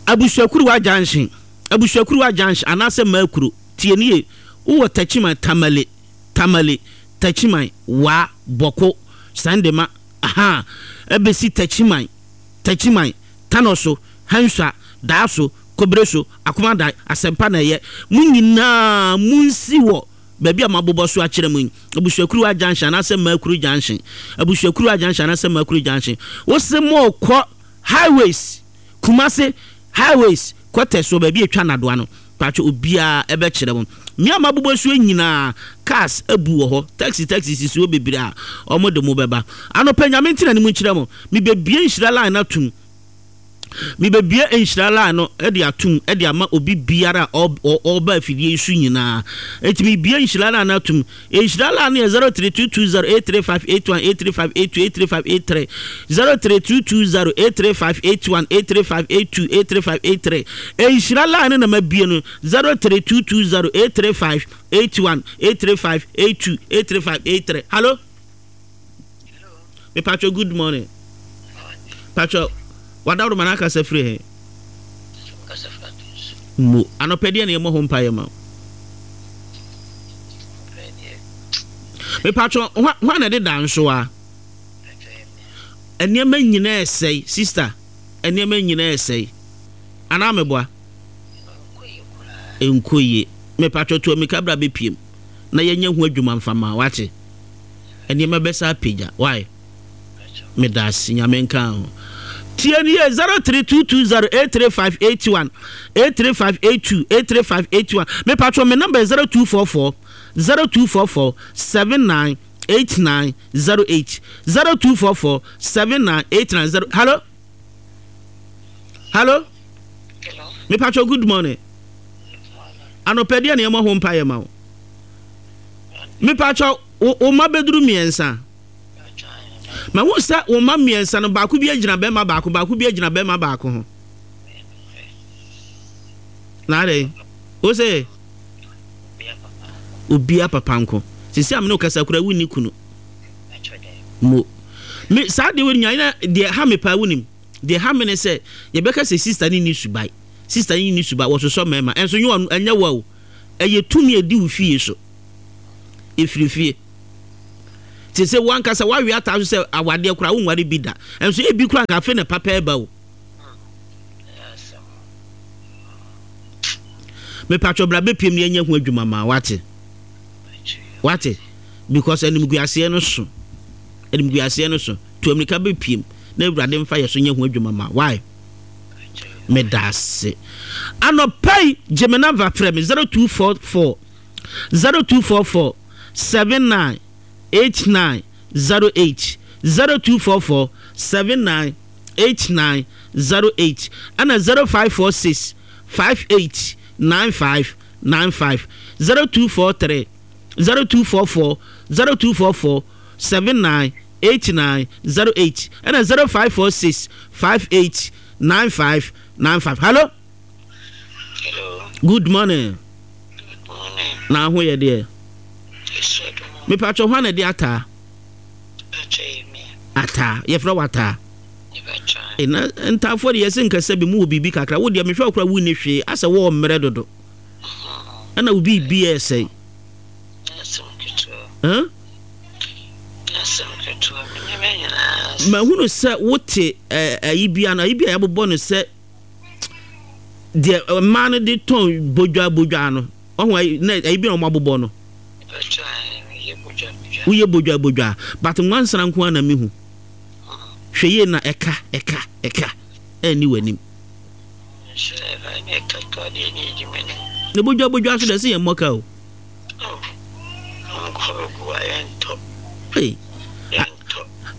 Abusuakuruwa Junction, Abusuakuruwa Junction anaasɛ Maakuro, tie nie, wowɔ Techiman, Tamale, Tamale, Techiman, Wa, Bɔko, Sandema, aha, ɛbɛsi Techiman, Techiman, Tanoso, Hansua, Daaso, Kobreso, Akomadan, Asɛmpa na ɛyɛ. Mo nyinaa munsi wɔ baabi a mabobɔ so akyerɛ mu yi. Abusuakuruwa Junction anaasɛ Maakuro Junction. Abusuakuruwa Junction anaasɛ Maakuro Junction. Wose mokɔ Highways, Kumase Highways, kɔtɛ so baabi etwa nadoa no. Patro obiara ɛbɛkyerɛ mo. Mmea mabobɔ so nyinaa cars abu wɔ hɔ. Taxi taxi sisi hɔ bebree a ɔmo de mo bɛba. Anɔpɛ Nyame ntina ne mu nkyerɛ mo. Mebɛbie nhyira line no atum. Mebɛbie nhyira line no de atum de ama obi biara a ɔba afidie yi so nyinaa. Enti mebie nhyira line no atum. Nhyira line no yɛ zero three two two zero eight three five eight one, eight three five eight two, eight three five eight three, zero three two two zero eight three five eight one, eight three five eight two, eight three five eight three. Nhyira line no na mabie no zero three two two zero eight three five eight one, eight three five eight two, eight three five eight three. Hello? Me Pacho, good morning. Pacho, wadaworo ma n'akasa firi he? Mo anɔpɛ deɛ na yɛmmɔ ho mpaeɛ ma wo. Me Pacho, hwan na ɛde da nso a? Nneɛma nyinaa ɛsɛe, sister. Nneɛma nyinaa ɛsɛe. Anaa meboa? Nkɔ yie. Me Pacho, to amika bra bɛpiem na yɛnyɛ ho adwuma mfama, wate? Nneɛma bɛsa apagya. Why? Meda ase, Nyame nka ho. Tie ni yɛ zero three two two zero eight three five eight one, eight three five eight two, eight three five eight one. Me patro, me number zero two four four, zero two four four, seven nine eight nine zero eight, zero two four four, seven nine eight nine zero. Hello? Hello? Hello. Me patro, good morning. Anɔpɛ deɛ na yɛmmɔ ho mpaeɛ ma wo. Me patro, wo ma bɛduru mmiɛnsa. Ma wo sɛ wo ma mmiɛnsa no baako bi agyina bɛrima baako, baako bi agyina bɛrima baako ho. Na adɛn? Wo sɛ obia papa nko. Sisi amene okasa kura wonni kunu. Mo. Me saa deɛ wɔ nya na deɛ ha me paa wonim. Deɛ ha me ne sɛ yɛbɛka sɛ sister ne ni subae. Sister ne ni subae wɔsosɔ mmarima. Ɛnso nyɛ ɛnyɛ wa o. Ɛyɛ tumi edi wo fie so. Ɛfiri fie. Te sɛ wankasa wawe ataa so sɛ awadeɛ koraa wonware bi da. Ɛnso ebi koraa nka afei na papa ɛba o. Mepatwɔ bra bɛpiem ne ɛnyɛ ho adwuma ma wate. Wate? Because animguaseɛ no so. Animguaseɛ no so. Tu amirika bɛpiem na Awurade mfa yɛ so nyɛ ho adwuma ma. Why? Medase. Anɔpa yi gye me number frɛ me zero two four four zero two four four seven nine eight nine zero eight zero two four four seven nine eight nine zero eight ɛna zero five four six five eight nine five nine five zero two four three zero two four four zero two four four seven nine eight nine zero eight ɛna zero five four six five eight nine five nine five. Hello. Hello. Good morning. Good morning. Na ho yɛ deɛ. Mepatwɔ hwan na ɛde ataa? Ataa. Yɛfrɛ wo ataa. Na ntaafoɔ de yɛse nkasa bi mu wɔ biribi kakra. Wo deɛ mehwɛ wo koraa wonni hwee asɛ wɔɔ mmerɛ dodo. Ɛna wo biribi ɛsɛe. Huh? Mahunu sɛ wote ayi bi ano, ayi bi a yɛabobɔ no sɛ deɛ mmaa no de tɔn bodwa bodwa no. Ɔho ayi na ayi bi na wɔn abobɔ no. Woyɛ bodwa bodwa, but nwansena nko ara na mehu. Hwɛ yie na ɛka ɛka ɛka ɛnni w'anim. Na bodwa bodwa so deɛ ɛsɛ yɛn mmɔ ka o. Hey,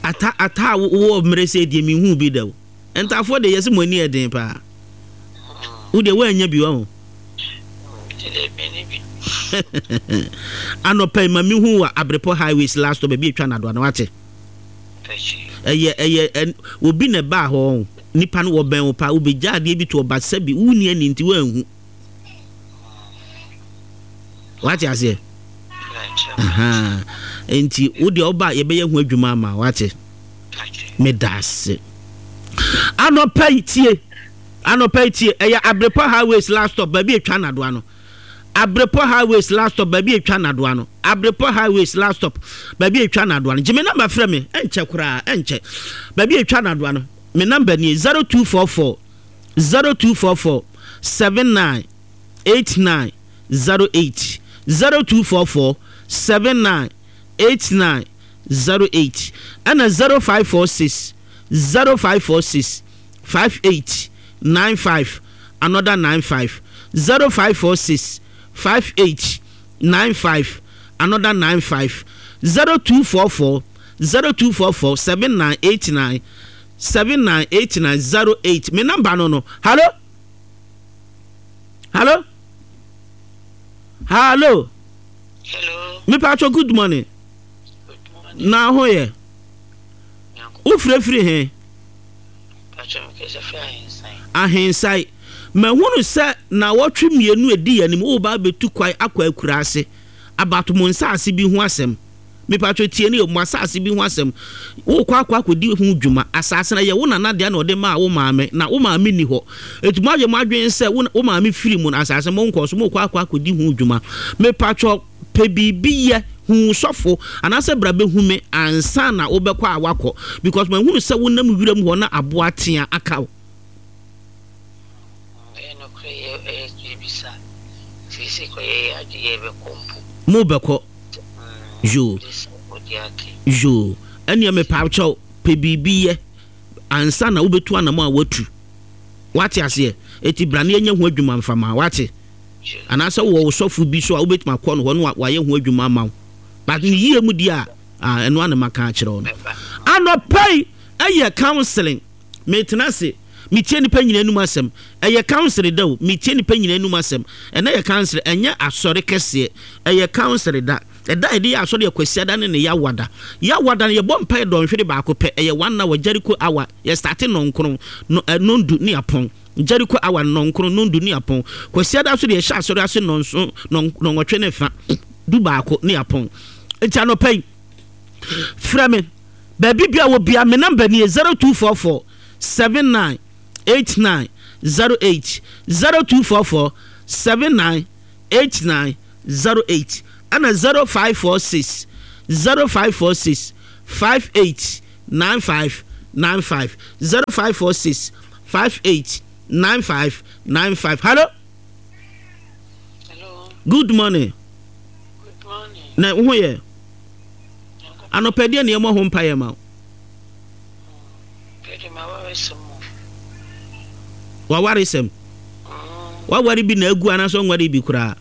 ata ata a wowɔ mmerɛ sɛ deɛ mehu bi da o. Ntafoɔ deɛ yɛsɛ mo ani yɛ den paa. Wo deɛ woannya bi wɔ ho. Anɔpa yi ma mehu wɔ Abrepɔ Highways last stop baabi atwa nadoa no wate. Ɛyɛ ɛyɛ obi na ɛbaa hɔ nipa no wɔbɛn wo paa wobɛgya adeɛ bi to ɔba sɛbi wonni ani nti woanhu. Wate aseɛ? Nti wo deɛ ɔba yɛbɛyɛ ho adwuma ama wate. Meda ase. Anɔpa yi tie. Anɔpa yi tie. Ɛyɛ Abrepɔ Highways last stop baabi atwa nadoa no. Abrepɔ Highways last stop baabi atwa nadoa no. Abrepɔ Highways last stop baabi atwa nadoa no. Gye me namba frɛ me. Ɛnkyɛ koraa ɛnkyɛ. Baabi atwa nadoa no. Me namba nie zero two four four zero two four four seven nine eight nine zero eight zero two four four seven nine eight nine zero eight ɛna zero five four six zero five four six five eight nine five another nine five zero five four six five eight nine five another nine five zero two four four zero two four four seven nine eight nine seven nine eight nine zero eight. Me number no no. Hello. Hello. Hello. Hello. Me patro, good morning. Good morning. Na ho ye. Wo frɛ firi he? Ahensai. Mahunu sɛ nawɔtwe mmienu edi anim wo ba abɛtu kwan akɔ akuraase abato mo nsaase bi ho asɛm. Mepatro tie ne mo asase bi ho asɛm. Wo kɔ akɔ akɔdi ho dwuma. Asase na yɛ wo nana deɛ na ɔde maa wo maame na wo maame ni hɔ. Eti mo ayɛ mo adwene sɛ wo maame firi mu na asase mo nkɔ so mo kɔ akɔ akɔdi ho dwuma. Mepatro pɛ biribi yɛ hu sɔfo anaasɛ bra bɛhu me ansa na wobɛkɔ a wakɔ because mahunu sɛ wonam wiram hɔ na aboa tea aka wo. Mo bɛkɔ yo yo ɛnea mepaakyɛw pɛ biribi yɛ ansa na wobɛtu anam a watu. Wate aseɛ? Eti bra ne yɛnyɛ ho adwuma mfama wate. Anaasɛ wɔ sɔfo bi so a wobɛtumi akɔ no hɔ no wayɛ ho adwuma ama wo. But ne yie mu deɛ a ɛno ana maka akyerɛ wo no. Anɔpa yi ɛyɛ counseling. Metena ase metie nipa nyina anum asɛm. Ɛyɛ counseling da o. Metie nipa nyina anum asɛm. Ɛnɛ yɛ counseling, ɛnyɛ asɔre kɛseɛ. Ɛyɛ counseling da. Ɛda yɛde yɛ asɔre yɛ Kwasiada ne ne Yawada. Yawada no yɛbɔ mpaeɛ dɔnhwere baako pɛ. Ɛyɛ one hour Jericho hour. Yɛ starte nɔnkron no nondu ne apɔn. Jericho hour nɔnkron nondu ne apɔn. Kwasiada nso de yɛhyɛ asɔre ase nɔnson nɔnwɔtwe ne fa du baako ne apɔn. Nti anɔpa yi frɛ me baabi bia wɔ bia me number nie zero two four four seven nine eight nine zero eight zero two four four seven nine eight nine zero eight. Ɛna zero five four six zero five four six five eight nine five nine five zero five four six five eight nine five nine five. Hello. Hello. Good morning. Good morning. Na wo ho yɛ? Anɔpa deɛ na yɛmmɔ ho mpaeɛ ma wo. Wawaresɛm. Waware bi na agu anaasɛ ɔnware bi koraa?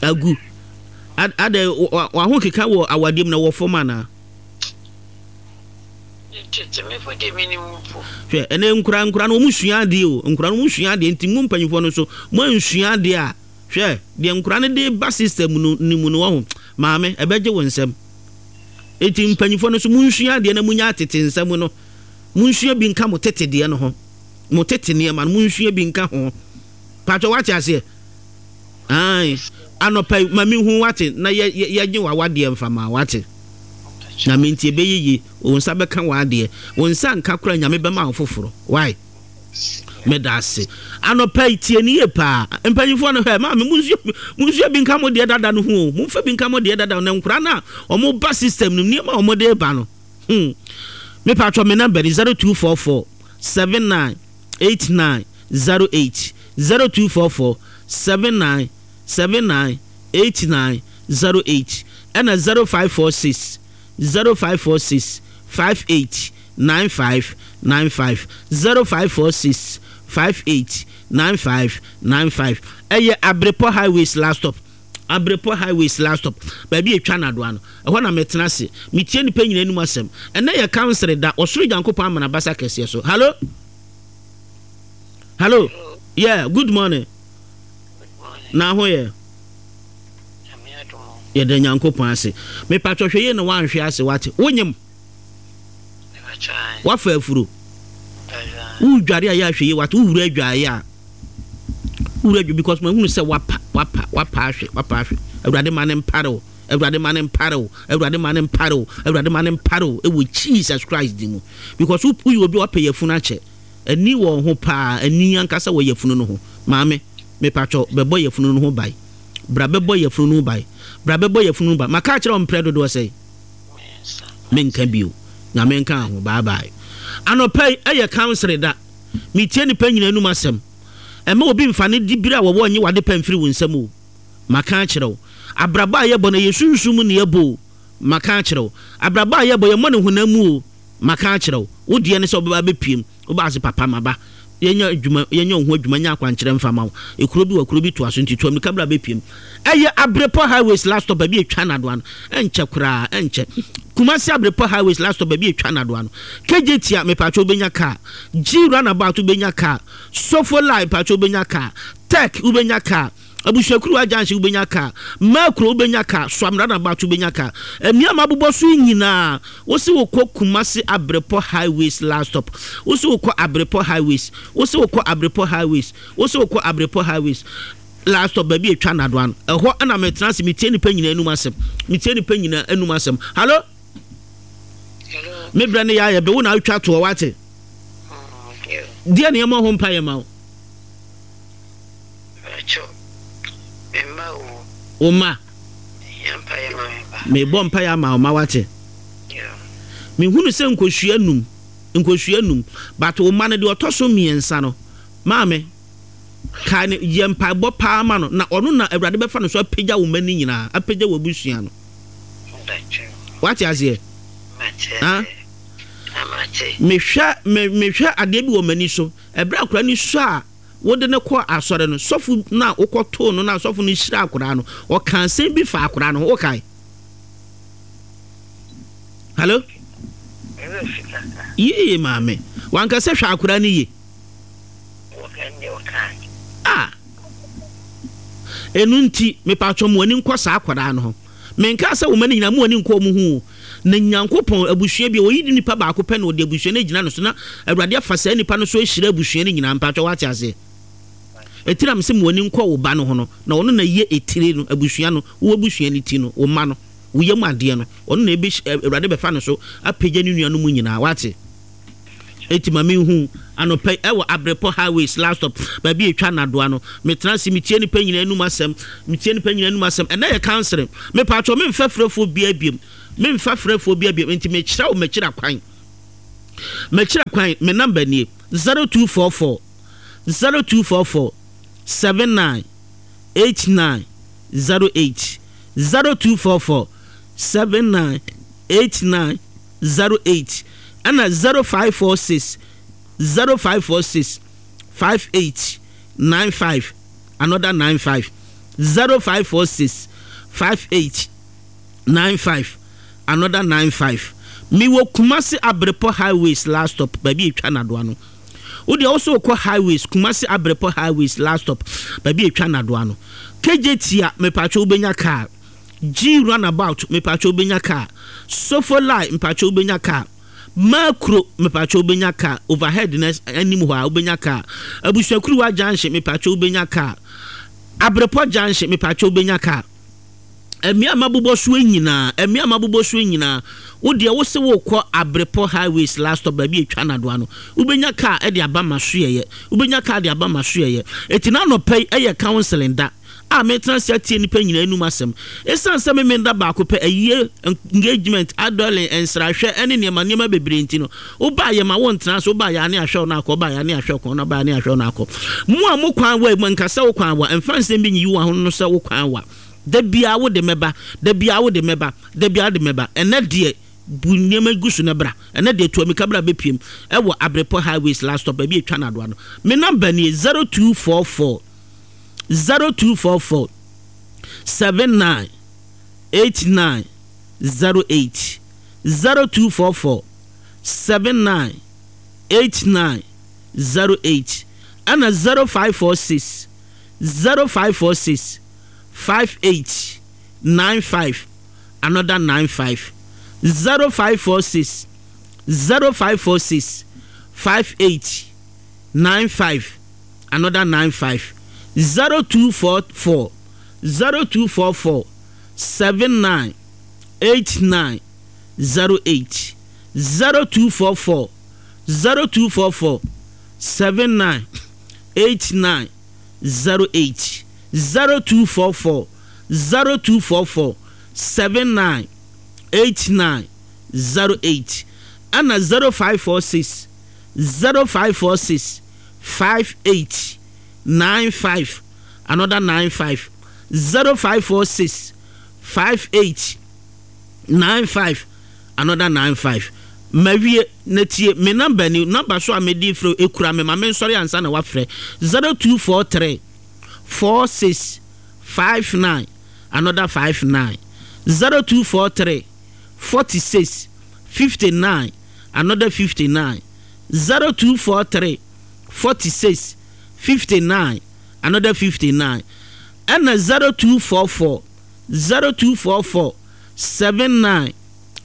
Agu. Adɛ waho keka wɔ awadeɛ mu na wɔ fam anaa? Hwɛ, ɛnɛ nkura nkura no wɔn sua adeɛ o, nkura no wɔn sua adeɛ nti mo mpanyinfoɔ no nso mo ansua adeɛ a, hwɛ deɛ nkura no de ba system no ne mu no wɔho, maame ɛbɛgye wo nsam. Eti mpanyinfoɔ no nso mo nsua adeɛ na mo nya atete nsam no, mo nsua bi nka mo tete deɛ no ho, mo tete nneɛma no mo nsua bi nka ho. Paatwa wate aseɛ? Ae, anɔpa yi ma mehu wate na yɛ yɛ yɛgye w'awadeɛ mfa ma wate. Nyame nti ɛbɛyɛ yie, wo nsa bɛka w'adeɛ, wo nsa nka koraa Nyame bɛma wo foforɔ. Why? Meda ase. Anɔpa yi tie ne yie paa. Mpanyinfoɔ no hwɛ maame munsua munsua bi nka mo deɛ dada no ho o. Momfa bi nka mo deɛ dada no na nkora no a wɔn ba system no nneɛma a wɔn de ba no. Hmm. Mepa atwa me number ni zero two four four seven nine eight nine zero eight zero two four four seven nine seven nine eight nine zero eight ɛna zero five four six zero five four six five eight nine five nine five zero five four six five eight nine five nine five ɛyɛ Abrepɔ highways last stop Abrepɔ highways last stop baabi etwa nadoa no ɛhɔ na metena ase metie nipa nyina anim asɛm ɛnɛ yɛ kansere da ɔsoro Nyankopɔn ama n'abasa kɛseɛ so. Hello, hello, yeah, good morning. Na ho yɛ? Yɛda Nyankopɔn ase. Mepatwɔ hwɛ yie na woanhwe ase wate. Wonyem? Wafa afuro? Wodware a yɛ ahwɛ yie wate. Wowura adwaeɛ a wowura adwa because mahunu sɛ wapa wapa wapa ahwɛ wapa ahwɛ. Awurade ma ne mpare wo. Awurade ma ne mpare wo. Awurade ma ne mpare wo. Awurade ma ne mpare wo ɛwɔ Jesus Christ din mu. Because woyɛ obi a wapɛ yafunu akyɛ. Ani wɔ ho paa, ani ankasa wɔ yafunu no ho. Maame, mepatwɔ bɛbɔ yafunu no ho ban. Bra bɛbɔ yafunu no ho ban. Bra bɛbɔ yafunu no ho ban. Maka akyerɛ wo mprɛ dodoɔ sɛn? Menka bio. Nyame nka ho. Bye bye. Anɔpa yi ɛyɛ council da. Metie nipa nyina anum asɛm. Ɛmma obi mfa ne dibere a wɔwɔ nye w'ade pa mfiri wo nsam o. Maka akyerɛ wo. Abrabɔ a yɛbɔ no ɛyɛ sunsum mu na yɛbɔ o. Maka akyerɛ wo. Abrabɔ a yɛbɔ yɛmmɔ no honam mu o. Maka akyerɛ wo. Wo deɛ ne sɛ wobɛba abɛpiem. Wobaa ase papa maba. Yɛnyɛ adwuma, yɛnyɛ wo ho adwuma, nyɛ akwankyerɛ mfa ma wo. Ekuro bi wɔ kuro bi toa so nti tu amirika bra bɛpiem. Ɛyɛ Abrepɔ Highways last stop baabi a ɛtwa nnadoa no. Ɛnkyɛ koraa, ɛnkyɛ. Kumasi Abrepɔ Highways last stop baabi a ɛtwa nnadoa no. Kejetia, mepatwɛ wobɛnya car. G Runabout wobɛnya car. Sofolai, mepatwɛ wobɛnya car. Tech wobɛnya car. Abusuakuruwa Junction wobɛnya car. Makuro wobɛnya car. Suam Runabout wobɛnya car. Mmea a mabobɔ so yi nyinaa, wose wokɔ Kumasi Abrepɔ Highways last stop. Wose wokɔ Abrepɔ Highways. Wose wokɔ Abrepɔ Highways. Wose wokɔ Abrepɔ Highways last stop baabi a ɛtwa nnadoa no. Ɛhɔ na metena ase metie nnipa nyinaa anum asɛm. Metie nnipa nyinaa anum asɛm. Hallo? Hello. Me brɛ no yɛ ayɛ be wo na wotwa toɔ wate. Deɛ na yɛmmɔ ho mpaeɛ ma wo. Wo mma. Mebɔ mpaeɛ ama wo ma wate. Mehunu sɛ nkosua num, nkosua num, but wo mma no deɛ ɔtɔ so mmiɛnsa no, maame, kae no, yɛ mpaebɔ paa ma no, na ɔno na Awurade bɛfa no so apagya wo mma no nyinaa, apagya w'abusua no. Wate aseɛ? Ha? Mehwɛ, me, mehwɛ adeɛ bi wɔ m'ani so. Ɛberɛ a akwadaa no sua a wode no kɔɔ asɔre no, sɔfo no a wokɔtoo no no a sɔfo no hyiraa akwadaa no, ɔkaa asɛm bi faa akwadaa no ho. Wokae? Hello? Yie maame. Wanka sɛ hwɛ akwadaa no yie. Ah. Ɛno nti, mepatwɔ mo ani nkɔ saa akwadaa no ho. Menkaa sɛ wo mma no nyinaa mo ani nkɔ wɔn ho o. Na Nyankopɔn, abusua bi a, ɔyi nipa baako pɛ na ɔde abusua no agyina no so na Awurade afa saa nipa no so ahyira abusua no nyinaa. Mpakyɛ woate aseɛ? Ɛti na mese mo ani nkɔ wo ba no ho no, na ɔno na yɛ etire no, abusua no, wo abusua no ti no, wo mma no, wo yam adeɛ no, ɔno na ɛbɛ, Awurade bɛfa no so apagya ne nuanom nyinaa. Woate? Eti ma menhu anɔpa yi ɛwɔ Abrepɔ Highways last stop, baabi a ɛtwa nnadoa no. Metena ase metie nnipa nyinaa anum asɛm, metie nnipa nyinaa anum asɛm. Ɛnnɛ yɛ counseling. Mepatwɔ memfa frɛfoɔ biara biom, memfa frɛfoɔ biara biom, enti mekyerɛ wo m'akyira kwan. M'akyira kwan, me number nie, zero two four four, zero two four four, seven nine, eight nine, zero eight, zero two four four, seven nine, eight nine, zero eight ɛna zero five four six zero five four six five eight nine five another nine five zero five four six five eight nine five another nine five. Mewɔ Kumasi Abrepɔ Highways last stop, baabi etwa nadoa no. Wo deɛ wosɛ wokɔ Highways, Kumasi Abrepɔ Highways last stop, baabi etwa nadoa no. K J Tia, mepatwa wobɛnya car. G Runabout, mepatwa wobɛnya car. Sofolai, mepatwa wobɛnya car. Makuro, mepatwa wobɛnya car. Overhead na anim hɔ a wobɛnya car. Abusuakuruwa Junction, mepatwa wobɛnya car. Abrepɔ Junction, mepatwa wobɛnya car. Mmea mabobɔ soɔ nyinaa, mmea mabobɔ soɔ nyinaa, wo deɛ wo se wokɔ Abrepɔ Highways last stop, baabi etwa nadoa no, wobɛnya car ɛde aba ma soɛyɛ, wobɛnya car de aba ma soɛyɛ. Eti n'anɔpɛ yi ɛyɛ counseling da a metena se atie nipa nyinaa anum asɛm. Ɛsiane sɛ meme da baako pɛ ayie, engagement, adɔlen, nsrahwɛ ɛne nneɛma nneɛma bebree nti no, wobaa yɛ ma wontena so. Wobaa yɛ ane ahwɛ wo no akɔ, wobaa yɛ ane ahwɛ wo kɔn na wobaa yɛ ane ahwɛ wo no akɔ. Mo a mo kwan wa mu nkasa, wo kwan wa mfa nsɛm bi nyiyi wo ho no sɛ wo kwan wa. Da biara wode mɛba, da biara wode mɛba, da biara wode mɛba. Ɛnɛ deɛ bu nneɛma gu so na bra. Ɛnɛ deɛ tu amika bra bɛpiem ɛwɔ Abrepɔ Highways last stop, baabi etwa nadoa no. Me number nie: zero two four four zero two four four seven nine eight nine zero eight, zero two four four seven nine eight nine zero eight, ɛna zero five four six zero five four six five eight nine five another nine five, zero five four six zero five four six five eight nine five another nine five, zero two four four zero two four four seven nine eight nine zero eight, zero two four four zero two four four seven nine eight nine zero eight, zero two four four zero two four four seven nine eight nine zero eight, ɛna zero five four six zero five four six five eight nine five another nine five, zero five four six five eight nine five another nine five. Mawie na tie me number ni. Number so a mede frɛ ekura me ma me nsɔre ansa na wafrɛ: zero two four three four six five nine another five nine, zero two four three forty-six fifty-nine another fifty-nine, zero two four three forty-six fifty-nine another fifty-nine, ɛna zero two four four zero two four four seven nine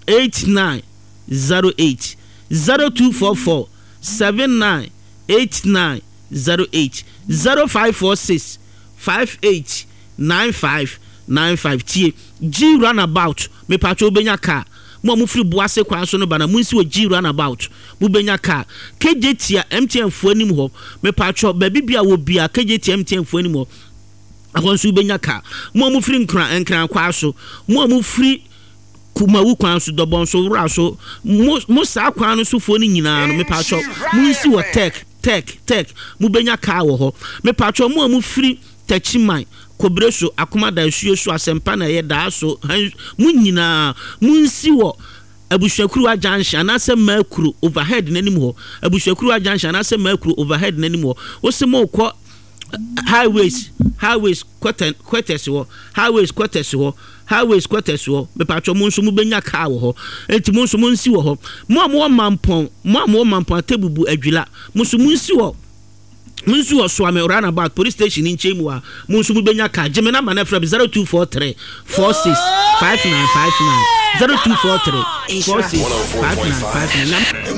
eight nine zero eight, zero two four four seven nine eight nine zero eight, zero five four six five eight nine five nine five. Tie, G Runabout, mepatwa wobɛnya car. Mo a mofiri Boase kwan so no ba na monsi wɔ G Runabout, mobɛnya car. K J Tia M T N foɔ anim hɔ, mepatwɔ baabi bia wɔ bia K J Tia M T N foɔ anim hɔ, ɛhɔ nso wobɛnya car. Mo a mofiri Nkran, Nkran kwa so, mo a mofiri Kumawu kwan so, Dɔbɔn so, Wura so, mo mo saa kwan no sofoɔ no nyinaa no, mepatwɔ monsi wɔ Tech Tech Tech, mobɛnya car wɔ hɔ. Mepatwɔ mo a mofiri Tɛkyiman, Kobere so, Akomada asuo so, Asɛmpa na ɛyɛ daa so han, mo nyinaa monsi wɔ Abusuakuruwa Junction anaasɛ Maakuro overhead n'anim hɔ. Abusuakuruwa Junction anaasɛ Maakuro overhead n'anim hɔ, wosi mo kɔ highways highways quarters hɔ, Highways quarters hɔ, Highways quarters hɔ, mepatwɔ mo nso mobɛnya car wɔ hɔ. Enti mo nso monsi wɔ hɔ. Mo a mowɔ Mampɔn, mo a mowɔ Mampɔn, Atebubu, Adwila, mo nso monsi wɔ mo nso wɔ Soame Roundabout police station nkyɛn mu a, mo nso mobɛnya car. Gye me number no frɛ me: zero two four three four six five nine five nine, zero two four three four six five nine five nine.